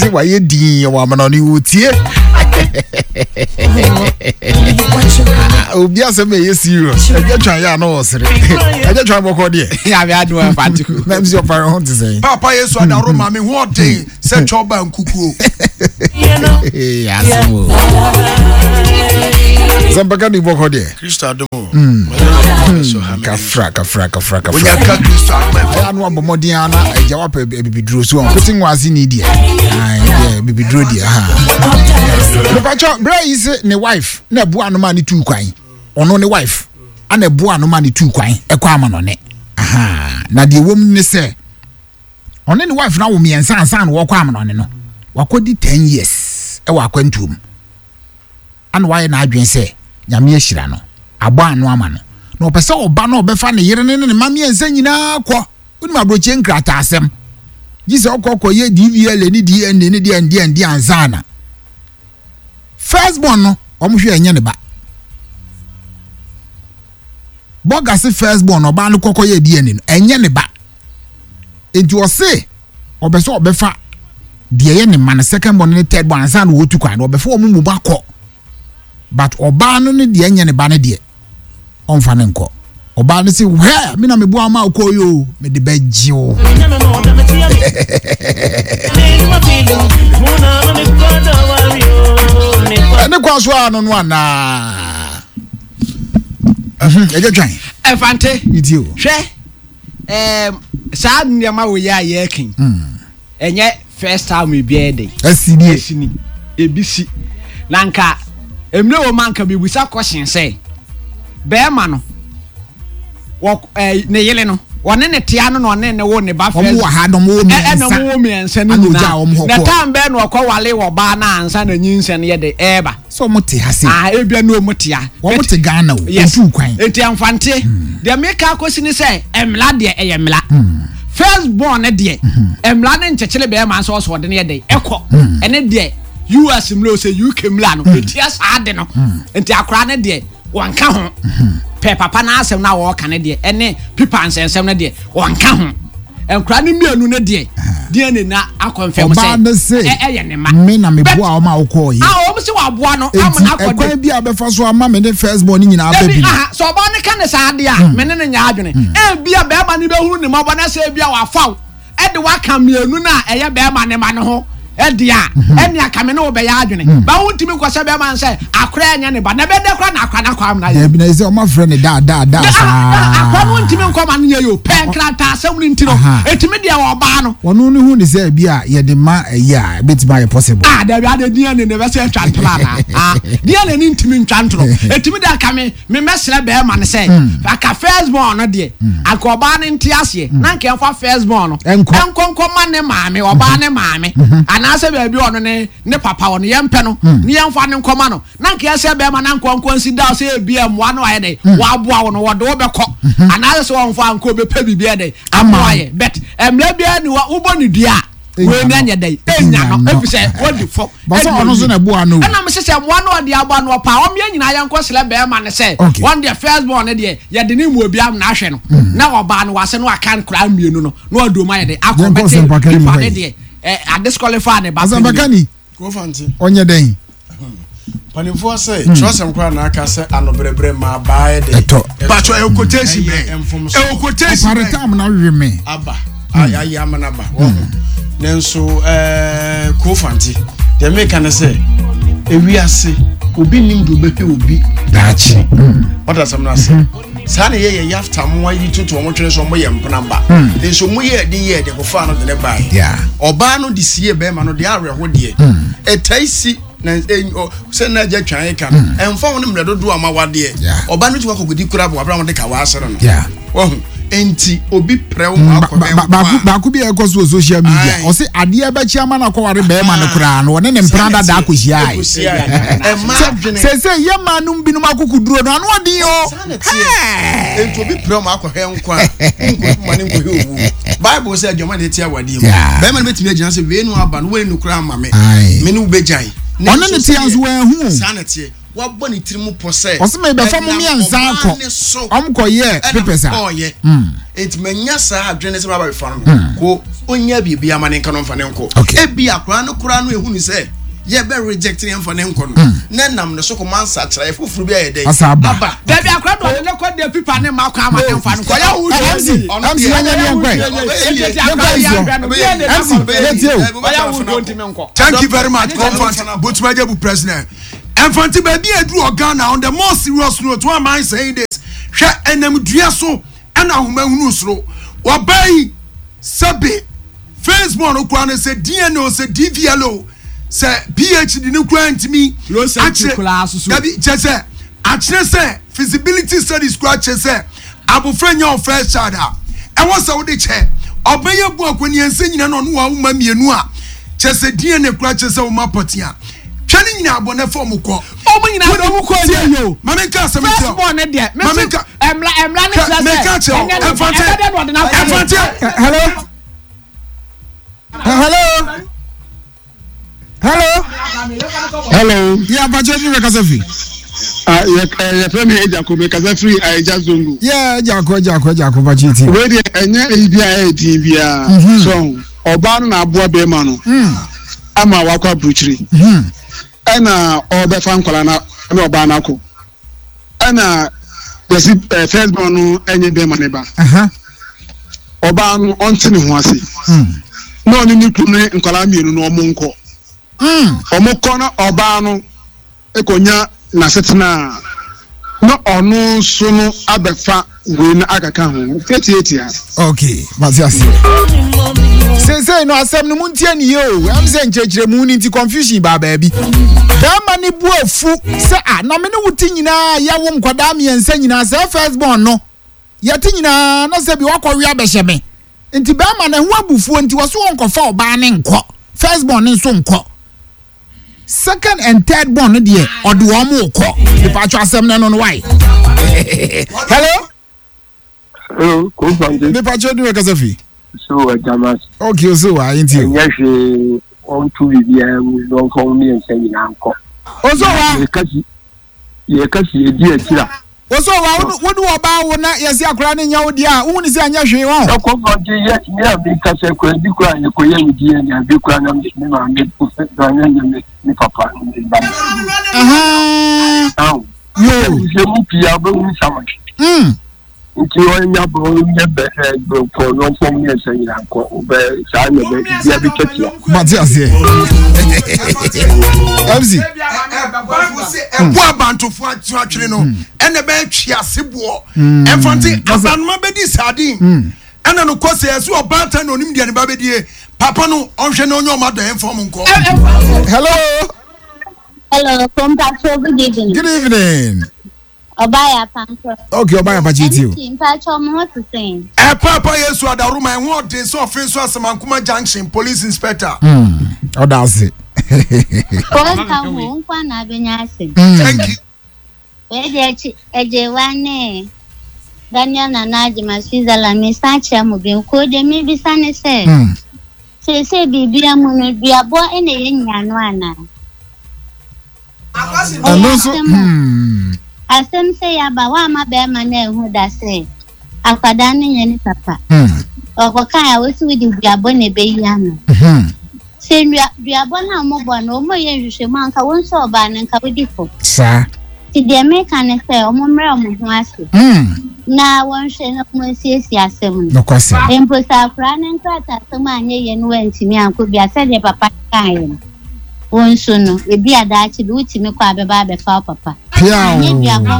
Ɔse wayɛ din wɔ amanɔne wɔtie. Obi asɛm ɛyɛ serious. Ɛgya twan yɛ ano ɔsere. Ɛgya twan bɔkɔ deɛ. Nyame adom ɛfa nti. Na msi ɔpare ho te sɛn. Papa Yesu adaro ma me ho ɔden sɛ twɔba nkukuo. Asɛm o. Sɛmpaka ni bɔkɔ deɛ. Kristo adom o. Kafra kafra kafra kafra. Onya ka Kristo adom ɛfɔ. Ɛyà no abɔ mmɔden ara na agya wapɛ bibiduro so wɔn kote nwaase ni deɛ. Ayi deɛ bibiduro deɛ ha. Mepatwɔ brɛ yi se ne wife na ɛboa no ma ne tuu kwan. Ɔno ne wife ana ɛboa no ma ne tuu kwan ɛkɔ ama no ne. Na deɛ wɔm ne sɛ ɔne ne wife no awo mmiɛnsa ansa na wɔkɔ ama no ne no. Wakɔdi 10 years ɛwɔ akwantuo mu. Ana wayɛ n'adwene sɛ Nyame ahyira no, abɔ ano ama no, na ɔpɛ sɛ ɔba na ɔbɛfa ne yere ne ne mma mmiɛnsa nyinaa kɔ. Wonim aburokyie nkrataasɛm. Gye sɛ ɔkɔ kɔyɛ DVLA ne DNA ne deɛ ndeɛ ndeɛ ansa na. First born no, wɔn hwɛ ɛnyɛ ne ba. Bɔga se first born ɔbaa no kɔkɔ yɛ DNA no, ɛnyɛ ne ba. Enti ɔse ɔbɛ sɛ ɔbɛfa deɛ ɛyɛ ne ma no second born ne third born ansa na wɔtu kwan no ɔbɛfa wɔn mu akɔ but ɔbaa no ne deɛ ɛnyɛ ne ba no deɛ ɔnfa ne nkɔ ɔbaa no se hwɛ me na meboa ma wokɔ yi o mede bɛgye wo. Ɛne kwan so a no no anaa ɛgye twan ɛfante hwɛ ɛɛm saa nneɛma wɔ yɛ a yɛreka yi ɛnyɛ first time ebi ɛyɛ dɛ ɛsi nie ɛsi ni ebi si na nka mmerɛ wɔ mu anka bibisa question sɛ bɛrima no wɔ ɛɛ ne yere no wɔne ne tea no na ɔne ne wo ne ba first wɔn wɔ ha na wɔn wɔ mmiɛnsa ɛna wɔn wɔ mmiɛnsa ne nyinaa na time bɛɛ na ɔkɔ wale wɔ baa na ansa na nyinsɛn yɛ de ɛɛba. Sɛ ɔmo te ha sei. Ah ebia ne ɔmo te ha. Wɔn te Ghana o, Yes. otuu kwan. Enti ɛmfante. Deɛ meka akɔsi ne sɛ mmara deɛ ɛyɛ mmara. First born no deɛ mmara no nkyekyere bɛrima nso ɔsɛ ɔde no yɛ dɛn ɛkɔ. Ɛne deɛ US mmara o sɛ UK mmara no ɛtia saa ade no. Nti akwaraa no deɛ wɔnka ho. Pɛ papa no asɛm no a wɔreka no deɛ ɛne pipa nsɛnsɛm no deɛ wɔnka ho. Nkwadaa no mmienu no deɛ DNA na akɔnfɛm sɛ ɛyɛ ne ma. Me na me boa wɔn a wɔkɔɔ yi. A wɔn sɛ wɔaboa no ama no akɔ de. Ɛkwan bi a bɛfa so ama me ne first born ne nyinaa bɛ bi. Aha sɛ ɔbaa no ka ne saa adeɛ a me ne no nyɛ adwene. Ebi a bɛrima no bɛhunu ne mmɔbɔ na sɛ ebi a wafa wo ɛde waka mmienu no a ɛyɛ bɛrima ne ma no ho ɛde a ɛne aka me ne wo bɛyɛ adwene. Ba wo ntumi nkɔhyɛ bɛrima no sɛ akora ɛnyɛ ne ba na ɛbɛdɛ kora na akora no akɔ amena yɛ. Dabi na ɛsɛ ɔma frɛ ne daa daa daa saa. Akora no ntumi nkɔ ma no yɛ yo pɛ nkrataa asɛm no nti no ɛtumi deɛ ɔbaa no. Ɔno no hu ne sɛ bi a yɛde ma ɛyi a ɛbɛtumi ayɛ possible. Ah dabi ade DNA na ɛbɛsɛ atwa ntoro anaa ah DNA no ntumi ntwa ntoro ɛtumi de aka me me mɛsrɛ bɛrima no sɛ hmm. aka first born no deɛ hmm. anka ɔbaa no nte aseɛ hmm. na nka ɛmfa first born no ɛnkɔ nkɔ ma ne maame ɔbaa ne maame anaasɛ baabi ɔno ne ne papa ɔno yɛmpɛ no ne yɛmfa ne nkɔma no na nka ɛsɛ bɛrima na nkɔ nkɔ nsi da sɛ ebi mmoa no ayɛ dɛ waboa wo no wɔde wo bɛkɔ anaasɛ sɛ wɔmfa ankɔ bɛpɛ biribi ayɛ dɛ amoa yɛ but mmerɛ biara ni wobɔ ne dua a wei ni anyɛ dɛ enya no efisɛ wadi fɔ. Bàtà ɔno nso na ɛboa no. Ɛna mese sɛ mmoa no ɔde aboa no ɔpa wɔn yɛn nyinaa yɛn kɔ srɛ bɛrima no sɛ wɔn deɛ first born no deɛ yɛde ne mu obi amena ahwɛ no mm. na ɔbaa no wase no aka nkora mmienu no na ɔde wɔn ayɛ de akɔ bɛte nipa ne deɛ ɛ adisqualify ne ba. Asɛmpakani ɔnyɛ dɛn. Mpanimfoɔ sɛ hmm. twerɛsɛm koraa na aka sɛ anobrɛbrɛ ma abaa yɛ dɛ. Ɛtɔ. Patro ɛwɔ quotation bɛn. Ɛwɔ quotation bɛn. Ɔpare tam na we me. Aba hmm. ayɛ ama no aba wɔn ho nanso ɛɛ kofante deɛ meka ne sɛ ewiase obi nim de obɛhwɛ obi daakye. Ɔda asɛm no ase. Saa na yɛyɛ yafta mmoa yi toto wɔn twene sɛ wɔyɛ mpena ba. Nso mo yɛ ɛde yɛ ɛde kɔfaa no de ne bae. Ɔbaa no de sie bɛrima no deɛ awerɛho deɛ. Ɛtae si na sɛ na agya twan ka no hmm. ɛmfa ho ne mmerɛ dodoɔ a ma wadeɛ ɔba no tumi akɔkɔdi kura bɔ abira wɔde ka waasere no wahu nti obi prɛ wo hmm, akɔ baako bi a ɛkɔ so wɔ social media ɔse adeɛ bɛkye ama no akɔware bɛrima no koraa no ɔne ne mpena dada akɔhyiae sɛ yɛ maa nom binom akokoduro no ano ɔden o nti obi prɛ wo akɔhwɛ nkwa a nkɔhwɛ nkɔhwɛ owu bible sɛ adwama na ɛte awadeɛ mu bɛrima no bɛtumi agyina sɛ wei no aba no wei no koraa ma me me ne wo bɛgyae ɔne ne tea nso wɔahu saa na ɛteɛ wabɔ ne tiri mu pɔ sɛ ɔsɛ mebɛfa mo mmiɛnsa akɔ ɔm kɔyɛ papers a ɔyɛ nti manya saa adwene sɛ maba bɛfa no no ko. Ɔnya biribi ama ne nka no mfa ne nkɔ. Ebi akora no koraa no ehunu sɛ yɛbɛ reject ne mfa ne nkɔ no hmm. na nam ne so kɔma nsakyeraeɛ foforɔ bi ayɛ dɛ aba. Dabi akora do ɔde ne kɔ de pipa ne ma kɔ ama ne mfa no kɔ yɛ wo MC MC yɛnyɛ ne yɛnkɔ MC yɛtie o. Thank you very much Comfort Botumajabu president. Ɛmfanti baabi a aduru wɔ Ghana on the more serious note why am I saying this hwɛ ɛnam dua so ɛna ahoma hunu soro wɔbaa yi sɛbe first born no koraa no sɛ DNA o sɛ DVL o sɛ PhD no koraa ntumi akyerɛ dabi kyɛ sɛ akyerɛ sɛ feasibility studies koraa kyerɛ sɛ abofra nya wo first child a ɛwɔ sɛ wode kyɛ ɔbɛyɛ bu akɔniɛnsa nyina na ɔno wa woma mmienu a kyɛ sɛ DNA koraa kyerɛ sɛ woma pɔtea twɛ ne nyinaa bɔ ne fɔm kɔ. Ɔmo nyinaa de ɔmo kɔ ɛnyɛ yie o. Maame nka asɛm nkyerɛ o. First born ne deɛ. Maame nka. Ɛmla ɛmla ne kyerɛ sɛ. Meka kyerɛ o. Ɛmfante. Ɛmfante. Hello. Hello. Hello. Hello. Yɛ abakyɛ ni bɛ kasa fi. Ah, yɛ yɛ fɛ mi Ejako mi kasa firi Aija Zongo. Yɛ Ejako Ejako Ejako bakyɛ ti. Wei deɛ ɛnyɛ eyi bi a ɛyɛ din biara. So ɔbaa no na aboa bɛrima no. Ama wakɔ aburukyiri. Ɛna ɔrebɛfa nkwadaa no ne ɔbaa no akɔ. Ɛna yɛsi ɛɛ first born no ɛnyɛ bɛrima ne ba. Ɔbaa no ɔnte ne ho ase. Na ɔne ne kunu ne nkwadaa mmienu no ɔmo nkɔ. Ɔmo kɔ na ɔbaa no kɔnya n'asetena a, na ɔno nso no abɛfa wei no akaka ho tiatiatia. Ok, mate aseɛ. Seesei no asɛm no montie ne yie o, ɛm sɛ nkyerɛkyerɛmu no nti confusion baa baabi. Bɛrima no bu afu sɛ a na me ne wo te nyinaa yɛwo nkwadaa mmiɛnsa nyinaa sɛ first born no yɛte nyinaa na sɛ bi wakɔwe abɛhyɛ me nti bɛrima no ɛho abufuo nti wɔso wɔnkɔfa ɔbaa ne nkɔ first born no nso nkɔ. Second and third born no deɛ ɔde wɔn mo kɔ nipaatwa asɛm no no why. Hello. Hello, Kofante. Nipaatwa dun ɛkasa fi. So ɛjamas. Okay, so wa ayé nti o. Ɛnyɛ hwee wɔn tu biribiara mu na wɔn fɔm mmiɛnsa nyinaa nkɔ. Oso wa. Yɛka si edi akyiri a. Wo so wa wo ne ɔbaa wo na yɛse akwadaa no nyɛ wo deɛ a wohu ne sɛ ɛnyɛ hwee wɔn. Ɛkɔ fɔnte yɛ me a meka sɛ kora bi kora yɛkɔyɛ me DNA bi kora na me maame na nyɛ me me papa ne me ba. Aho. Yoo. Sɛ mu pii a wobɛhu sama. Nti ɔnya bɔ ɔnyɛ bɛ ɛ kɔ n'ɔfɔm ne ɛsɛ nyina nkɔ ɔbɛ saa na bɛ bia bi tɛtia. Mate aseɛ. MC. Ɛbo abantofo atwene no ɛna ɛbɛyɛ twease boɔ ɛmfa nte abanoma bɛdi sardine ɛna no kɔ sɛ ɛsɛ ɔbaatan na onim deɛ ne ba bɛdie papa no ɔnhwɛ na ɔnyɛ ɔma dɔ ɛmfa ɔmo nkɔ. Hello. Hello, Kompatro, good evening. Good evening. Ɔbaa yɛ apankɔ. Okay, ɔbaa yɛ apakye ti o. MC mpatsɔ mo ho te sɛn? Ɛpaapa Yesu adaworoma ɛho ɔden sɛ ɔfe nso Asamankoma Junction police inspector. Ɔda ase. Wɔnka ho nkwa na abɛnya asɛm. Thank you. Wei deɛ akyi Agyewa ne Daniel Nana Agyema Switzerland mesan kyerɛ mo bio. Koo deɛ mebisa ne sɛ seesei biribia mu no duabɔ na ɛyɛ nyiano anaa? Ɛno nso hmm. Asɛm sɛ yaba woamma bɛrima no anhu da sɛ akwadaa no nyɛ ne papa. Hmm. Ɔkɔkae a wosi wode duabɔ na ɛbɛyi ano. Hmm. Sɛ nnua duabɔ no a wɔbɔ no wɔyɛ nhwehwɛmu anka wo nso ɔbaa no nka wodi fɔ. Saa. Nti deɛ meka ne sɛ wɔn mmerɛ wɔn ho ase. Hmm. Na wɔnhwɛ na wɔnsiesie asɛm no. Nokwasɛm. Mpo sɛ akwadaa no nkrataasɛm anyɛ yie no wantumi ankɔ bi a sɛdeɛ papa kaeɛ no. Wo nso no, ebia daakye bi wotumi kɔ a bɛba abɛfa wo papa. Piaw. Anyɛ duabɔ.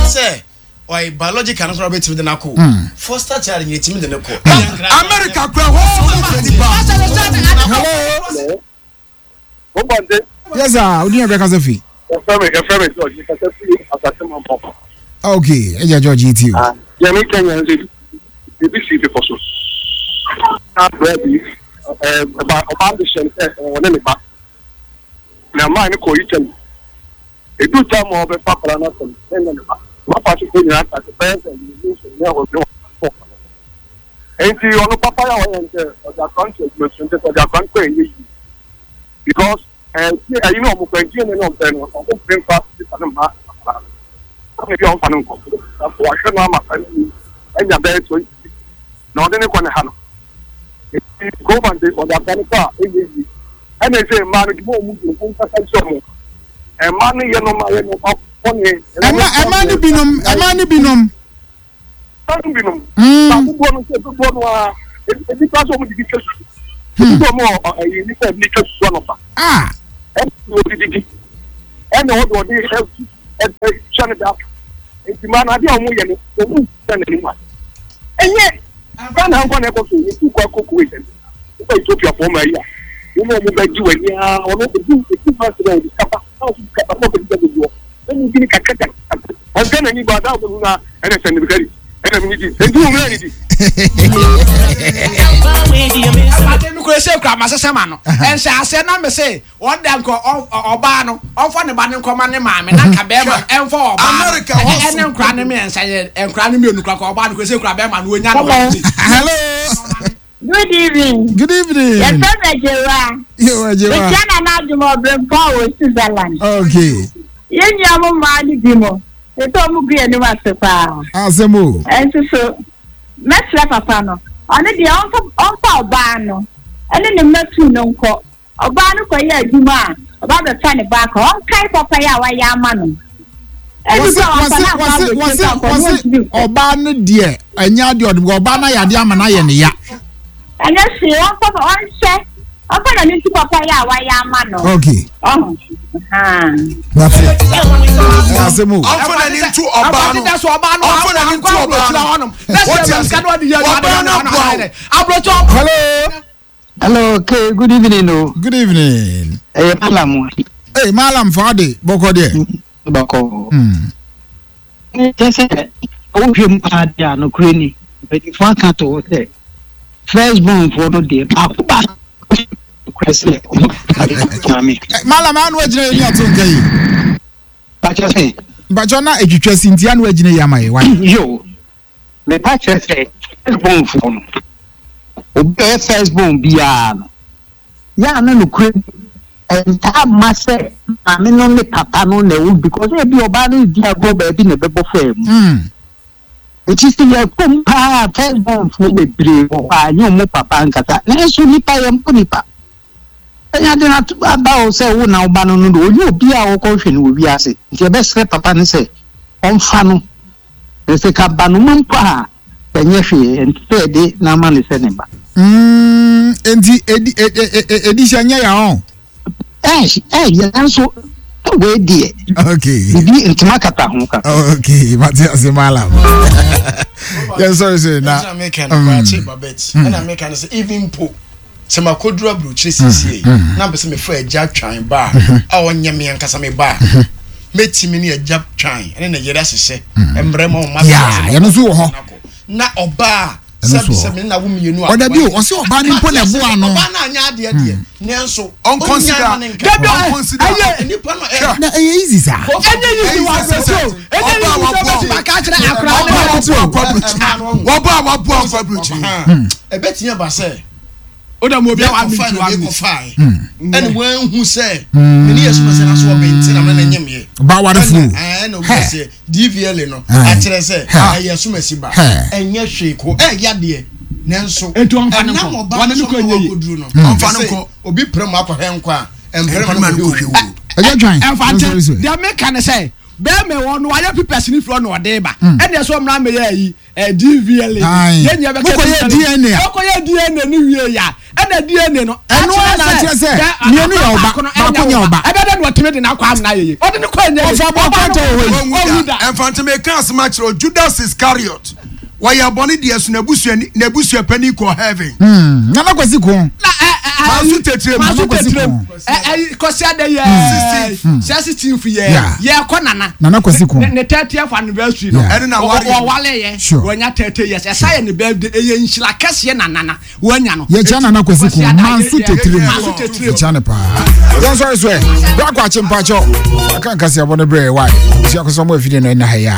Sɛ ɔyɛ biological no koraa bɛtumi de no akɔ hmm. foster child nyɛ tumi de no kɔ. America kura hɔ sɛ ɔmo fɛ nipa. Hello. Yes sir, odi yɛn bɛ kasa fi. Yɛfrɛ me yɛfrɛ me George kasa fi asase ma mpɔpɔ. Okay, ɛyɛ George yi ti o. Ah, yɛn mi Kenya nso ebi si bepɔ so. Abira bi ɛɛ ɔba ɔbaa de hyɛn sɛ ɔne ne ba. Na maa ne kɔ Italy. Edu tam a ɔbɛfa akwadaa no asɛm ɛnyɛ ne ba. Papa so kɔ nyinaa asase bɛyɛ sɛ ne nso ne ɔne ɔkɔ. Nti ɔno papa yɛ a ɔyɛ sɛ ɔde akwadaa no to adwuma so nti ɔde akwadaa no kɔ ɛnyɛ yie because. Ɛyi na ɔmo pɛ nti ɛna ɔmo pɛ no ɔmo pɛ nfa sika no mma akwadaa no ɛna ebi a ɔmfa no nkɔ wahwɛ no ama saa no ɛnya bɛyɛ 26. Na ɔde ne kɔ ne ha no. Enti Govan de ɔde akwadaa no kɔ a ɛnyɛ yie. Ɛna ɛsɛ mmaa no dwuma a wɔn di no wɔn nkasa nkyerɛ wɔn. Mmaa no yɛ nneɛma yɛ nneɛma bɔne. Ɛma ɛma ne binom ɛma ne binom. Mmaa no binom. Ba dodoɔ no sɛ dodoɔ no ara ebi kora sɛ wɔn didi twa susu. Ebi sɛ wɔn wɔ ɛyi nipa ebi twa susu anɔpa. Ɛna wɔde didi. Ɛna wɔde wɔde ɛhyɛ ne da. Nti mmaa no adeɛ a wɔn yɛ no wɔn nsa n'anim a. Ɛnyɛ Ghana ha nko na ɛkɔ so yɛtu kɔ akɔ Kuwait ɛno wokɔ Ethiopia foɔ ma yi a wɔn a wɔn bɛgye w'ani ara wɔn ebi ebi fa sɛ wɔde sika ba na wɔn sika ba na wɔn sika dodoɔ wɔn mu bi ne kakra kakra wɔn Ghana ni ba da wɔn mu na ɛna sɛ nibikari ɛna mi ni di nti wɔn mu na ni di. Ɛwurade mi kura ese kura ma sese ma no ɛnhyɛ aseɛ na mi se Wɔn da nkɔ ɔbaa no ɔnfa ne ba no nkɔma ne maame na nka bɛrima no ɛnfa ɔbaa no ɛne nkora no mmiɛnsa yɛ nkora no mmienu kora kɔ ɔbaa no kɔ sɛ kura bɛrima no onya no. Hello. Good evening. Good evening. Yɛfrɛ me Agyewa. Yo Agyewa. Mekyia Nana Adwuma Ɔbrɛmpɔn wɔ Switzerland. Okay. Yɛn nua mo mmaa no bi mo. Ɛsɛ ɔmo gu yɛn anim ase paa. Asɛm o. Ɛnso so mɛsrɛ papa no. Ɔno deɛ ɔmfa ɔbaa no ɛne ne mma tuu no nkɔ. Ɔbaa no kɔyɛ adwuma a, ɔba bɛfa ne ba akɔ. Ɔnkae papayɛ a wayɛ ama no. Ebi Wɔse koraa wamfa wɔse no ankɔ wɔse aburokyire wɔse koraa anka ɔno wɔse ɔntumi nkɔ. ɔbaa no deɛ ɛnyɛ adeɛ ɔde ɔbaa no ayɛ adeɛ ama no ayɛ ne ya. Ɛnyɛ hwee, ɔmfa ɔnhyɛ ɔmfa n'ani nto papayɛ a wayɛ ama no. Okay. Ɔho. Ahaa. That's it. Ɛyɛ asɛm o. Ɔmfa n'ani nto ɔbaa no. Ɔmfa n'ani nto ɔbaa no. Wote ase? Ɔbaa no aboa wo. Hello. Hello, okay, good evening o. Good evening. Ɛyɛ eh, Malam. Hey, Malam Fadi, bɔkɔ deɛ. Bɔkɔ. Kyɛ sɛ wohwɛ mu paa deɛ a nokorɛ ni mpanyinfoɔ aka to hɔ sɛ first born foɔ no deɛ baako baako nokorɛ sɛ ɔmo maame. Malam ano agyina yɛ ni ato nka yi. Bakyɛ sɛ. Bakyɛ na etwitwa si nti ano agyina yi ama yɛ wa. Yo. Mepa kyerɛ sɛ first born foɔ no, obi a ɔyɛ first born biara no, yɛ a na nokorɛ mu ɛntaa mma sɛ maame no ne papa no na ɛwɔ because ebi ɔbaa no redi agorɔ baabi na ɛbɛbɔ faa mu. Nti sɛ yɛkɔ mu paa first born foɔ bebree wɔ hɔ a ɛnyɛ wɔn papa ankasa nanso nipa yɛmmɔ nipa. Ɛnyɛ ade na aba o sɛ wo na wo ba no no de ɔnyɛ obiara a wɔkɔhwɛ no wɔ wiase nti yɛbɛsrɛ papa no sɛ ɔmfa no. Na sɛ ka ba no ma mpo a, ɛnyɛ hwee, ɛnte sɛ yɛde no ama no sɛ ne ba. Mm, enti edi e, e, e, edi hyɛ nyɛ ya ɔn. Ɛɛ, ɛɛ, yɛ nanso wei deɛ. Okay. Bibi ntoma kata ho kaka. Okay, mate ase malam. Yɛn sɔre sɛ na. Ɛna meka no kwakye babet. Ɛna meka no sɛ even po sɛ makoduru aburokyire siesie yi na mpɛ sɛ mefa agya twan ba a ɔnyɛ me ankasa me ba a mɛtumi ne agya twan ɛne ne yere ahyehyɛ mmerɛ ma ɔma yɛno nso wɔ hɔ na ɔbaa sɛbi sɛ me na wo mmienu a ɔda bi o ɔsɛ ɔbaa no mpo na ɛboa no ɔbaa no anyɛ adeɛ deɛ nanso ɔnkɔnsida ɔnkɔnsida nipa no ɛ na ɛyɛ easy saa ɛnyɛ easy wɔ aburokyire o ɛnyɛ easy sɛ ɔbɛtumi aka akyerɛ akora ne wɔbɔ a waboa nkɔ aburokyire ɛbɛtumi aba sɛ o da mu obi a wa mi tu wa mi kɔfae ɛna wɔahu sɛ mene yɛ soma sɛ na so ɔbɛnti na mene nyem yɛ ba warefo ɛna obi sɛ DVLA no akyerɛ sɛ ɛyɛ soma si ba ɛnyɛ hwee ko ɛyɛ adeɛ nanso ɛnam ɔba no so na wakɔduru no ɔmfa no nkɔ obi pere mu akɔhwɛ nkɔ a ɛmpere ma no kɔhwɛ owu ɛyɛ dwan ɛmfa nkyɛn deɛ meka ne sɛ bɛrima wɔ no wayɛ pipɛs ne firi ɔna ɔde ba ɛna ɛsɛ ɔmmra mmɛyɛ ayi Eh, DVLA. Aye. Yɛn nyɛ bɛka Mokɔyɛ DNA a. Mokɔyɛ DNA no wie ya. Ɛna DNA no. Ɛno ara na akyerɛ sɛ mmienu yɛ ɔba, baako nyɛ ɔba. Ɛbɛ dɛ na ɔtumi de n'akɔ amena yeye. Ɔde ne kɔ ɛnyɛ yeye. Ɔfa bɔ kɔntɛ wɔ hɔ yi. Ɔnwu da. Ɛmfa meka asɛm akyerɛ wo, Judas Iscariot, wɔyɛ bɔne deɛ so n'abusua n'abusua panin kɔ heaven. Hmm, Nana Kwasi ko. Na ɛ ɛ Manso tetirem. Manso Nana Kwasi tetirem. ko. Ɛ ɛ Kwasi ada yɛ. Sɛ 16 yɛ. Yɛ kɔ nana. Nana Kwasi ko. Ne 30th anniversary no. Ɛne na ware. Wɔwale yɛ. Sure. Wɔnya 30 years. Ɛsa yɛ ne birthday. Ɛyɛ nhyira kɛseɛ na nana wɔanya no. Yɛkyia Nana Kwasi ko. Manso tetirem. Manso tetirem. Yɛkyia ne paa. Yɛn sɔre so ɛ. Bra kwakye mpakyɛw. Aka nkasi abɔ ne brɛ wae. Sua kɔsɔ mo afidie no ɛna ha yi a.